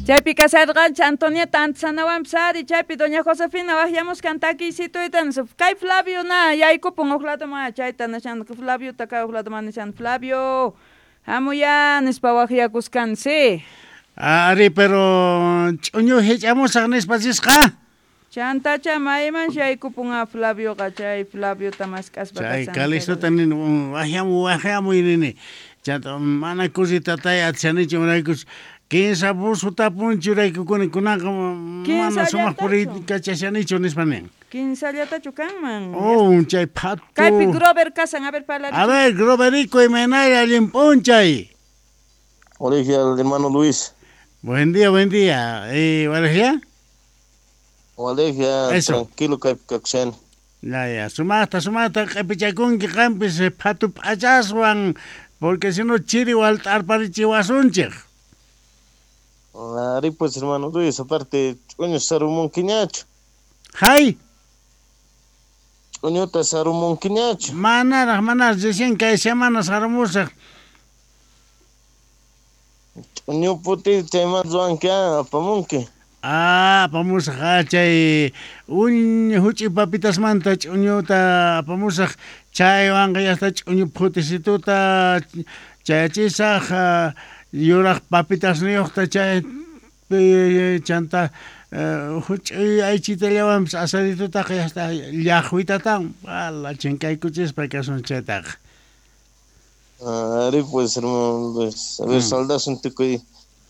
Chaypi kasarqanchik Antonieta Antisanawanpis ari, chaypi doña Josefina waqyamuskan takiysituyta nispa. Kay Flavio na yaykupun huk ladoman chayta nishan Flaviota kay huk ladoman nishan Flavio hamuy-á nispa waqyakuskansi. Ari, pero ch'uñu hich'amusaq nispa risqa. Chantacha maymansi yaykupun á Flavioqa chay Flaviota mask'aspa Chay kashan Calixtota nini waqyamuy waqyamuy nini. Chanta mana kusitatay atishanichu imaraykuchus kinsa buzo punchuraykukuni kunanqa mana sumaq puriykachashanichu nispa nin. Kinsallatachu kanman. Oh, chay phatu. Kaypi Grover kasan, a ver parlarichu. A ver, Groverico, imaynalla allin p'unchay. Hola, hermano Luis. Buen día, buen día. ¿Walejya? Walejya, tranquilo kaypi kakushan. Ya, ya, sumaqta, sumaqta q'ipichakunki qampis phatu p'achaswan, porque si no chiri walt'arparichiwasunchik. Ari pues, hermano Luis, aparte, ch'uñu sarumunkiñachu. Hay. Ch'uñuta sarumunkiñachu. Manaraq, manaraq, recién kay semana sarumusaq. Ch'uñu puti chayman ruwanki, apamunki. Ah, apamusaq, ah, chay uñ huch'uy papitasmanta ch'uñuta apamusaq, chaywanqa yasta ch'uñu phutisituta chayachisaq, yuraq papitasniyuqta chay chanta huch'uy aychitallawanpis asaditutaqa yasta llaqwitatan, wala chinkaykuchispa kasun chaytaqa. Ari pues, hermano Luis, a ver, saldasun tukuy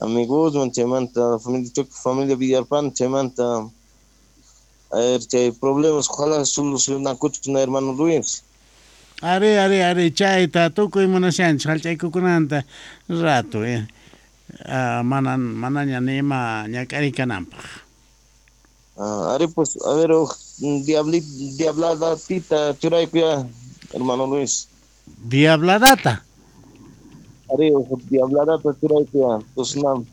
amigoswan chaymanta familia tukuy familia Villarpan chaymanta, a ver, chay problemas ojalá solucionakuchun hermano Luis. Ari, ari, ari, chayta tukuy munashanchik hallch'aykukunanta rato, mana manaña ni ima ñak'ariy kananpaq. Ari pues, a ver, uj diabladatita churaykuya, hermano Luis. Diabladata. Ari, uj diabladata churaykuya, tosnam.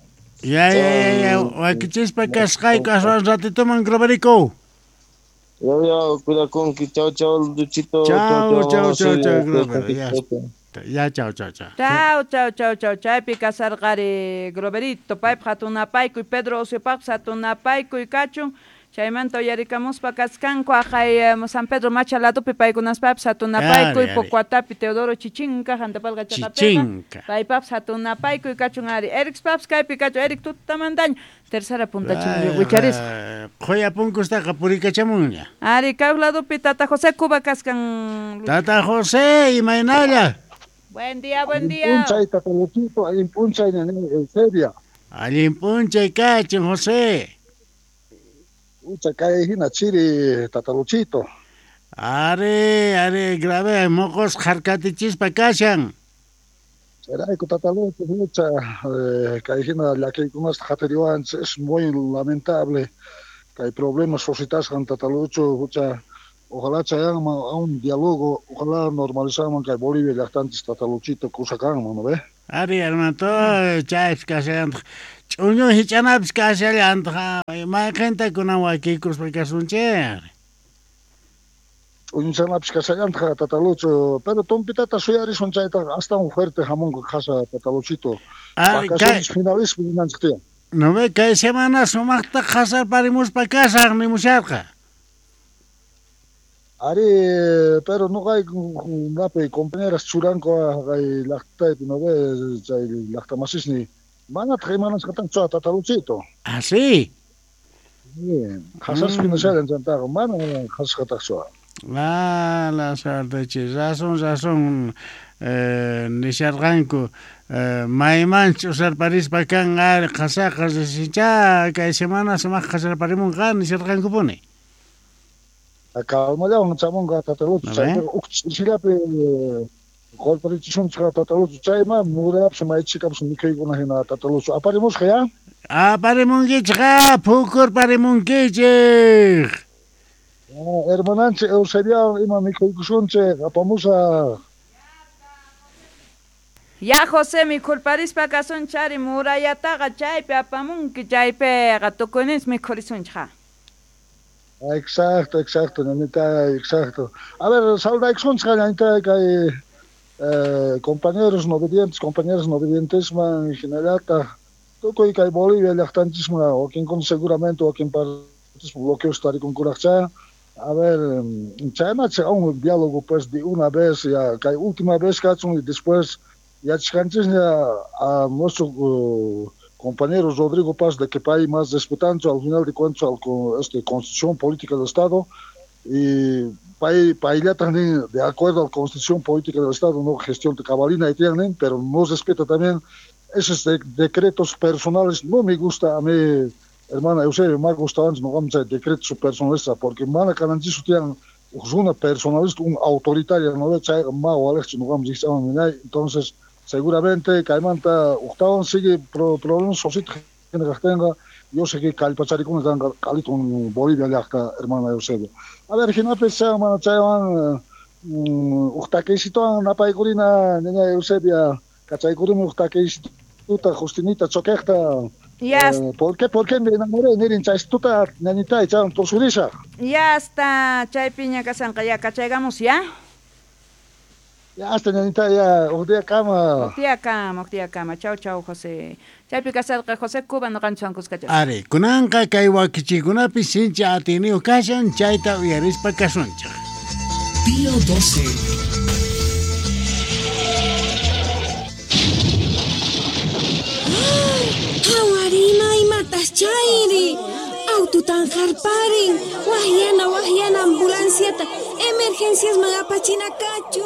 Ya, ya, ya, ya, wakichispa kasqayku aswan ratituman Groverico. Ya, ya, cuidakunki, chao, chao, Luchito. Chao, chao, chao, chao, Grover, ya. Ya, chao, chao, chao. Chao, chao, chao, chao, chaypi kasarqari Groverito, paypaq hatunapaykuy, Pedro Osiopaqpas hatunapaykuy kachun. Chaymanta uyarikamuspa kaskanku aqhay San Pedro Macha ladopi paykunaspapis hatunapaykuy, Pocuatapi Teodoro Chichinka, Jantapalqa chaqapiqa. Chichinka. Paypapis hatunapaykuy kachun ari. Ericspapis kaypi kachun, Eric tutamantaña. Tercera punta wicharisqa. Qhuya punkustaqa purikachamunña. Ari, kay ladopi Tata José Cuba kaskan. Tata José, imaynalla. Buen día, buen día. Allin p'unchay, Tata Luchito, allin p'unchay, ñañay Eusebia. Allin p'unchay kachun, José. Ucha kay hina chiri, Tata Luchito. Ari, ari, grave, moqos harkatichispa kashan. Chayrayku, Tata Lucho, ucha, kay hina llakiykunasta qatiriwanchik, es muy lamentable. Kay problemas suscitasqan, Tata Lucho, ucha, ojalá chayanman a un diálogo, ojalá normalizanman kay Bolivia llaqtanchis, Tata Luchito, kusa kanman, ¿no ve? Ari, hermano, chaypis kashallantaq. Ch'uñu hich'anapis kashallantaq. Mayqinta kunan wakiykuspa kasunchik. Ch'uñuchanapis kashallantaq, Tata Lucho, pero tumpitata suyarisun chaytaqa astawan fuerte hamunqa qhasa, Tata Luchito. Vacaciones finalispi ninanchik tiyan. No ve, kay semana sumaqta qhasarparimuspa kasaq nimusharqa. Ari, pero noqayku napi compañeras churanku kay llaqtaypi, no ve, chay llaqtamasisni manataq imanasqatanchu Tata Luchito. Ah, sí. Sí, qhasaspi nishallan chantaqa, mana qhasasqataqchu. Ah, la suerte, che, razón, razón, nisharqanku, maymanchu usarparispa kan ari qhasaqa risicha kay semana sumaq qhasarparimunqa nisharqankupuni. Calmallawan chamunqa Tata Lucho, chaypiqa uj ch'isillapi qolparichisunchik Tata Lucho, chayman murayapis maychikapis mikhuykuna hina Tata Lucho, aparimusqa ya? Aparimunkichik, phukurparimunkichik. Hermananchik Eusebiawan ima mikhuykusunchik, apamusaq. Ya José mikhurparispa kasunchari murayataqa chaypi apamunki, chaypiqa tukuyninchik mikhurisunchik. Exacto, exacto, ñañita, exacto. A ver, saludaykusunchik ñañita kay compañeros no obedientes, compañeras no obedientes man hinallataq Tukuy kay Bolivia llaqtanchisman wakinkuna seguramente wakin partes bloqueos tarikunkuraqcha. A ver, chaynacha un diálogo pues de una vez ya kay última vez kachun y después yachasqanchisña a nuestro compañero Rodrigo Paz de que pay más respetancho al final de cuentas al Constitución Política del Estado y pay payllataj nin de acuerdo a la Constitución Política del Estado no gestión de cabalina y tienen, pero no respeta también esos decretos personales. No me gusta a mí, hermana Eusebio, me gusta antes no vamos a decretos personalistas porque mana kananchisu tiyan una personalista, un autoritario, no chayqa ma walejchu no vamos a entonces seguramente kaymanta ujtawan sigue problemas sosita kajtenqa yo sé que kallpacharikuna kanqa q'alitun Bolivia llaqta, hermana Eusebio. A ver, jinapis mana chaywan ujtakisituwan napaykurina ñaña Eusebia kachaykurimi ujtakisituta Justinita choquejta. Ya. ¿Por qué me enamoré? Nirin chaystuta ñañita chaywan tusurisaq. Ya hasta chaypiña kasanqa ya kachaygamos ya. Ya hasta ñañita ya uqdía kama. Uqdía kama. Chau chau José. Chaypi kasarqa José Cuba noqanchis kuskachas. Ari, kunanqa kay wakichikunapi sinchi atiniyuq kashan chayta uyarispa kasunchik. Pío 12. Hawarima imatas chayri. Aututan harparin. Wahyana ambulanciata. Emergencias magapachina kachu.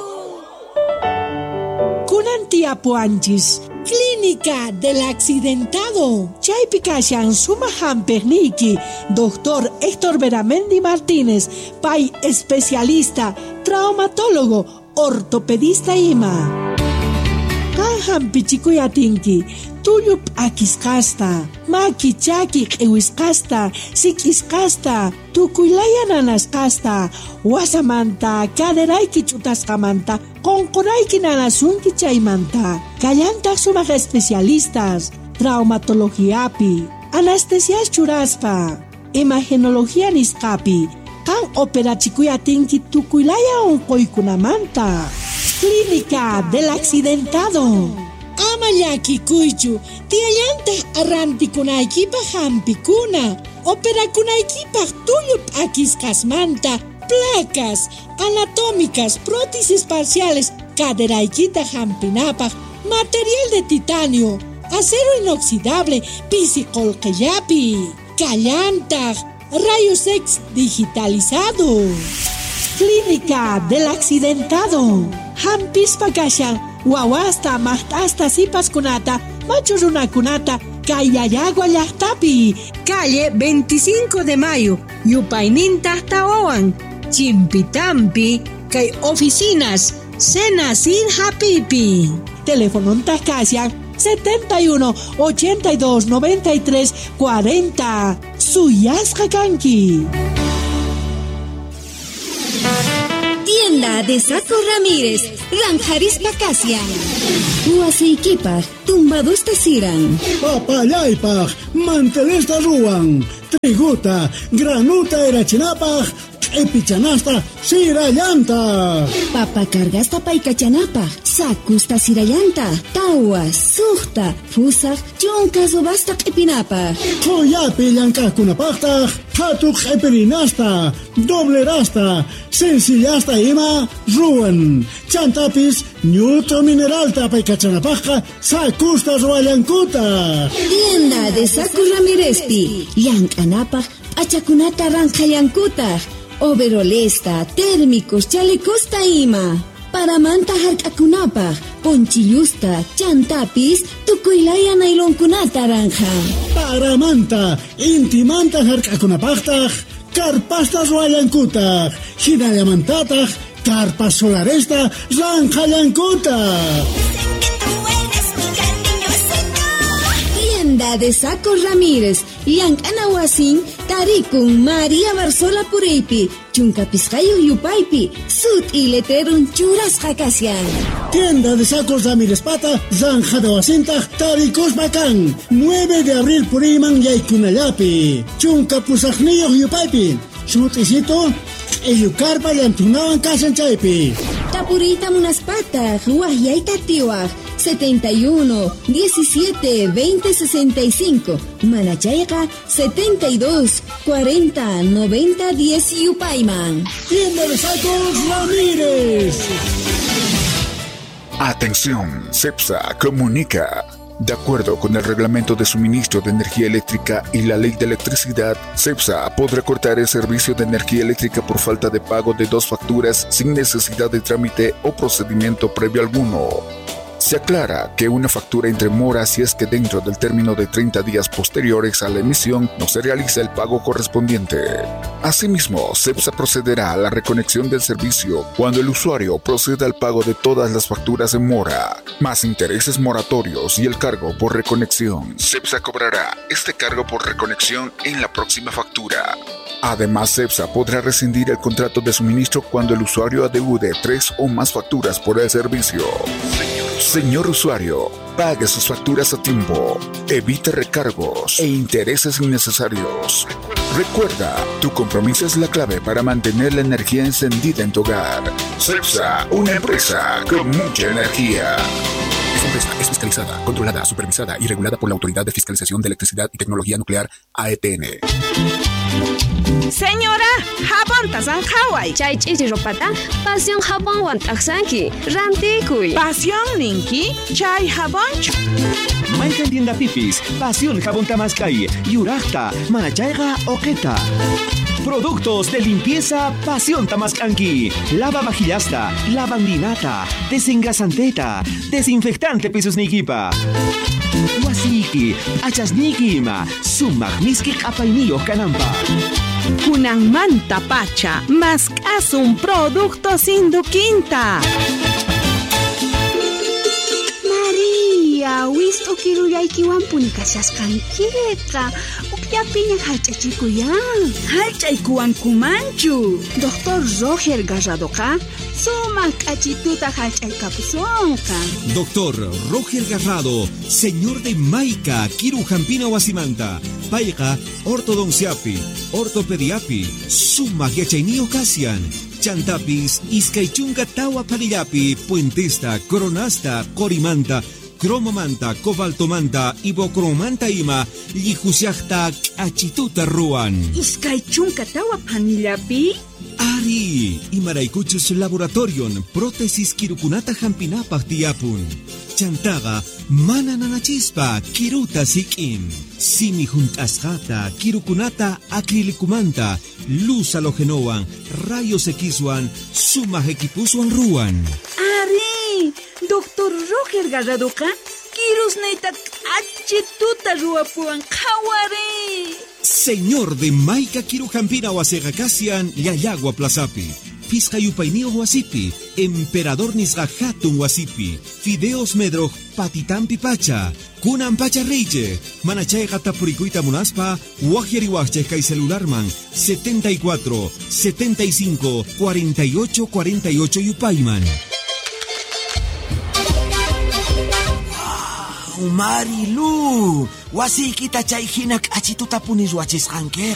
Kunan tiapuanchis. Clínica del Accidentado. Chaypi kashan sumaq hampiqniyki, Doctor Héctor Beramendi Martínez, pay especialista, traumatólogo, ortopedista ima. Qan hampichikuy atinki, tullu p'akisqasta, maki chaki q'iwisqasta, sik'isqasta, tukuylaya nanasqasta, wasamanta, caderayki ch'utasqamanta, qunqurayki nanasunki chaymanta. Kallantaq sumaq especialistas, traumatologiapi, anestesias churaspa, imagenología nisqapi, qan operachikuy atinki tukuylaya unquykunamanta. Clínica del Accidentado. Ama llakikuychu, tiyallantaq arrantikunaykipaq hampikuna, operakunaykipaq tullu p'akisqasmanta, placas anatómicas, prótesis parciales, caderaykita hampinapaq, material de titanio, acero inoxidable, pisi qullqillapi, kallantaq, rayos X digitalizado. Clínica del Accidentado. Hampispa kashan, wawasta, maqt'asta, sipaskunata, machu runakunata, Kayayagua llaqtapi, calle 25 de Mayo, yupayninta tawawan, Chimpitampi, kay oficinas, Cena sin Hapipi. Teléfono kashan 71 82 93 40. Suyasqa kanki. Tienda de Saco Ramírez, Ranjarispa Kasian. Huaseikipaj, tumbadusta siran. Papallaypaj, mantelesta ruwan. Triguta, granuta erachinapaj, q'ipichanasta sirallanta. Papa cargasta paykachanapaj, sakusta sirallanta, tawa, suqta, fusaj, chunka subasta q'ipinapaj. Qhuyapi llank'aqkunapaqtaq, qhatu q'ipirinasta, doblerasta, sencillasta ima ruwan. Chantapis ñut'u mineralta paykachanapaqqa sakusta ruwallankutaq. Tienda de Saco Ramírezpi, llank'anapaq p'achakunata ranqhallankutaq. Overolesta, térmicos, chalecosta ima. Paramanta hark'akunapaq, ponchillusta, chantapis, tukuylaya nailonkunata ranja. Paramanta, intimanta hark'akunapaqtaq, karpasta ruwallankutaq, hinallamantataq, karpas solaresta ranqhallankutaq. Tienda de Saco Ramírez, llank'ana wasin, tarikun María Barzola Pureypi, chunka pisqayuq yupaypi, sut'i letrerun churasqa kashan. Tienda de Sacos Ramírez Pata, Zanjada wasintaq tarikuspa kan, 9 de abril puriyman yaykunallapi, chunka pusaqniyuq yupaypi, sut'isito, q'illukarpa llantunawan kashan chaypi. Tapuriyta munaspataq, wahyayta tiwaq, 71 17 20 65. Manachayqa 72 40 90 10 yupayman. Tienda de Sacos Ramírez. Atención, CEPSA comunica. De acuerdo con el reglamento de suministro de energía eléctrica y la ley de electricidad, CEPSA podrá cortar el servicio de energía eléctrica por falta de pago de 2 facturas sin necesidad de trámite o procedimiento previo alguno. Se aclara que una factura entre mora si es que dentro del término de 30 días posteriores a la emisión no se realiza el pago correspondiente. Asimismo, CEPSA procederá a la reconexión del servicio cuando el usuario proceda al pago de todas las facturas en mora, más intereses moratorios y el cargo por reconexión. CEPSA cobrará este cargo por reconexión en la próxima factura. Además, CEPSA podrá rescindir el contrato de suministro cuando el usuario adeude 3 o más facturas por el servicio. Señor usuario, pague sus facturas a tiempo, evite recargos e intereses innecesarios. Recuerda, tu compromiso es la clave para mantener la energía encendida en tu hogar. CEPSA, una empresa con mucha energía. Esta empresa es fiscalizada, controlada, supervisada y regulada por la Autoridad de Fiscalización de Electricidad y Tecnología Nuclear, AETN. Señora, jabón tasanjaway. Chay ch'ichi ropata, pasión jabón t'aqsanki, rantikuy. Pasión ninki, chay jabonchu. Mayqan tienda pipis, pasión jabón tamaskay, yuraqta, manachayqa oqeta. Productos de limpieza Pasión Tamascanqui. Lava vajillasta, lavandinata, desengrasanteta, desinfectante pisusnikipa. Wasiki, achasniki ima, sumaq miski q'apayniyuq kananpaq. Kunanmanta pacha, mask'asun productos Induquinta. María, wist'u kirullaykiwanpuni kashasqankiqa. Ukllapiña hallch'achikuyan. Hallch'aykuwankumanchu. Doctor Roger Garradoqa sumaq k'achituta hallch'aykapusunqa. Doctor Roger Garrado, señor de Maica, Kiru Jampina Wasimanta, Payqa, ortodonciapi, ortopediapi, sumaq yachayniyuq kasian. Chantapis, iskay chunka tawa phanillapi, puentesta, coronasta, qorimanta, cromomanta, cobaltomanta, ibocromanta ima, llijusiaqta k'achituta ruwan. 24 phanillapi? Ari, imaraykuchus laboratorion, prótesis kirukunata hampinapaq tiyapun. Chantaqa, mana nanachispa, kiruta sik'in. Simi junt'asqata, kirukunata acrilicumanta, luz halogenowan, rayos Xwan, sumaq equipuswan ruwan. Ari, Doctor Roger Garradoqa, kirusniyta k'achituta ruwapuwan qhawari. Señor de Maica Kirujampina wasiqa kasian Llallagua Plazapi. Pisqa yupayniyuq wasipi, Emperador nisqa hatun wasipi, Fideos Medroj patitampi pacha, kunan pacha riychej, mana chayqa tapurikuyta munaspa, waqyariwaqchej kay celularman 74 75 48 48 yupayman. Marilu, wasiykita chay hina k'achitutapuni ruwachisqankiqa.